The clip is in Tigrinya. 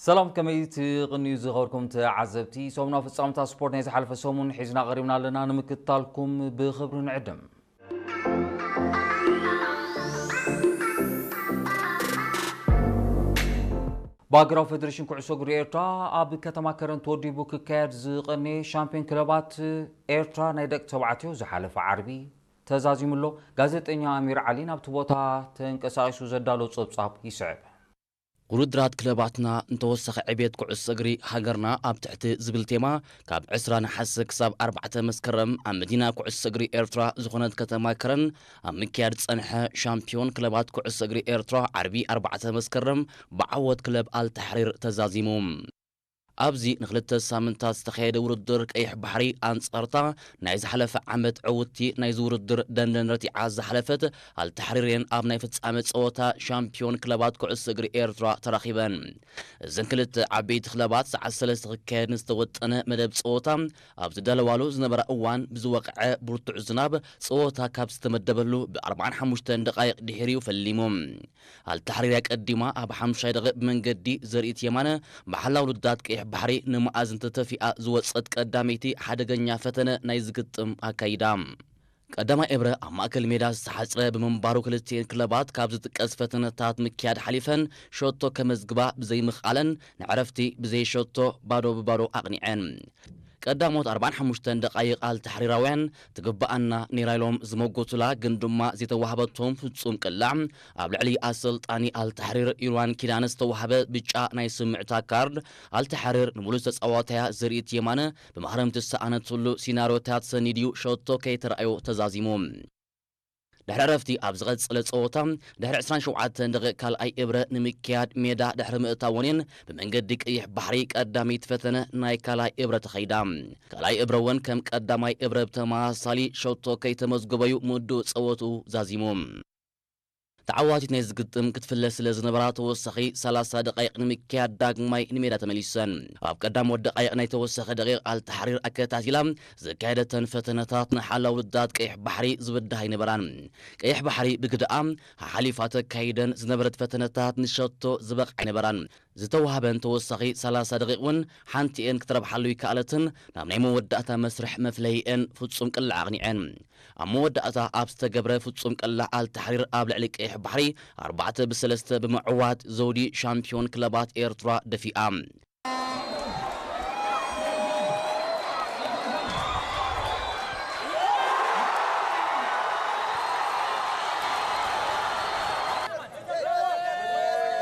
ሰላም፣ ከመይ ትቕንዩ ዝኸበርኩም ተዓዘብቲ? ሰሙናዊ ፍጻመታት ስፖርት ናይ ዝሓለፈ ሰሙን ሒዝና ቀሪብና ኣለና፣ ንምክትታልኩም ብኽብሪ ንዕድም። ብሃገራዊ ፌደሬሽን ኩዕሶ እግሪ ኤርትራ ኣብ ከተማ ከረን ተወዲቡ ክካየድ ዝቐነየ ሻምፒዮን ክለባት ኤርትራ ናይ ደቂ ተባዕትዮ ዝሓለፈ ዓርቢ ተዛዚሙ ኣሎ። ጋዜጠኛ ኣሚር ዓሊ ናብቲ ቦታ ተንቀሳቒሱ ዘዳሎ ጸብጻብ ይስዕብ። ውድድራት ክለባትና ንተወሳኺ ዕቤት ኩዕሶ እግሪ ሃገርና ኣብ ትሕቲ ዝብል ቴማ ካብ ዕስራ ነሓሰ ክሳብ ኣርባዕተ መስከረም ኣብ መዲና ኩዕሶ እግሪ ኤርትራ ዝኾነት ከተማ ከረን ኣብ ምክያድ ዝጸንሐ ሻምፒዮን ክለባት ኩዕሶ እግሪ ኤርትራ ዓርቢ ኣርባዕተ መስከረም ብዓወት ክለብ ኣልታሕሪር ተዛዚሙ። ኣብዚ ንክልተ ሳምንታት ዝተኻየደ ውድድር ቀይሕ ባሕሪ ኣንጻርታ ናይ ዝሓለፈ ዓመት ዕውትቲ ናይዚ ውድድር ደንደን ረቲዓ ዝሓለፈት ኣልታሕሪር እየን ኣብ ናይ ፍጻመ ጸወታ ሻምፒዮን ክለባት ኩዕሶ እግሪ ኤርትራ ተራኺበን። እዘን ክልተ ዓበይቲ ክለባት ሰዓት ሰለስተ ክካየድ ንዝተወጠነ መደብ ጸወታ ኣብ ዝዳለዋሉ ዝነበራ እዋን ብዝወቕዐ ብርቱዕ ዝናብ ጸወታ ካብ ዝተመደበሉ ብ45 ደቓይቕ ድሒሩ እዩ ፈሊሙ። ኣልታሕሪር ኣቀዲማ ኣብ ሓሙሻይ ደቂቕ ብመንገዲ ዘርኢት የማነ ብሓላው ልዳት ቀይሕ ባሕሪ ንመኣዝን ተተፊኣ ዝወጸት ቀዳመይቲ ሓደገኛ ፈተነ ናይ ዝግጥም ኣካይዳ። ቀዳማይ እብረ ኣብ ማእከል ሜዳ ዝተሓጽረ ብምንባሩ ክልቲኤን ክለባት ካብ ዝጥቀስ ፈተነታት ምክያድ ሓሊፈን ሸቶ ከመዝግባ ብዘይምኽኣለን ንዕረፍቲ ብዘይ ሸቶ ባዶ ብባዶ ኣቕኒዐን። ቀዳሞት ኣርባዓን ሓሙሽተን ደቓይቕ ኣልታሕሪራውያን ትግብኣና ነይራ ኢሎም ዝመጎቱላ ግን ድማ ዘይተዋህበቶም ፍጹም ቅላዕ ኣብ ልዕሊ ኣሰልጣኒ ኣልታሕሪር ኢርዋን ኪዳነ ዝተዋህበ ብጫ ናይ ስምዕታ ካርድ ኣልታሕሪር ንብሉጽ ተጻዋታያ ዘርኢት የማነ ብማህረምቲ ዝሰኣነትሉ ሲናርዮታት ሰኒድዩ ሸቶ ከይተራእዮ ተዛዚሙ። ድሕሪ ዕረፍቲ ኣብ ዝቐጸለ ጸወታ ድሕሪ ዕስራን ሸውዓተን ደቂቕ ካልኣይ እብረ ንምክያድ ሜዳ ድሕሪ ምእታወንን ብመንገዲ ቀይሕ ባሕሪ ቀዳመይቲ ፈተነ ናይ ካልኣይ እብረ ተኸይዳ። ካልኣይ እብረ እውን ከም ቀዳማይ እብረ ብተመሳሳሊ ሸቶ ከይተመዝገበዩ ምድኡ ጸወትኡ ዛዚሙ። ተዓዋቲት ናይ ዝግጥም ክትፍለ ስለ ዝነበራ ተወሳኺ ሰላሳ ደቃይቕ ንምክያድ ዳግማይ ንሜዳ ተመሊሰን። ኣብ ቀዳሞት ደቃይቕ ናይ ተወሳኺ ደቂቕ ኣልታሕሪር ኣከታቲላ ዘካየደተን ፈተነታት ንሓላው ውዳት ቀይሕ ባሕሪ ዝብዳህ ኣይነበራን። ቀይሕ ባሕሪ ብግድኣ ሓሓሊፋ ተካይደን ዝነበረት ፈተነታት ንሸቶ ዝበቕዓ ኣይነበራን። ዝተዋህበን ተወሳኺ ሰላሳ ደቂቕ እውን ሓንቲኤን ክትረብሓሉ ይከኣለትን ናብ ናይ መወዳእታ መስርሕ መፍለይኤን ፍጹም ቅላዕ ኣቕኒዐን። ኣብ መወዳእታ ኣብ ዝተገብረ ፍጹም ቅላዕ ኣልታሕሪር ኣብ ልዕሊ ቀይሕ ባሕሪ ኣርባዕተ ብሰለስተ ብምዕዋት ዘውዲ ሻምፒዮን ክለባት ኤርትራ ደፊኣ።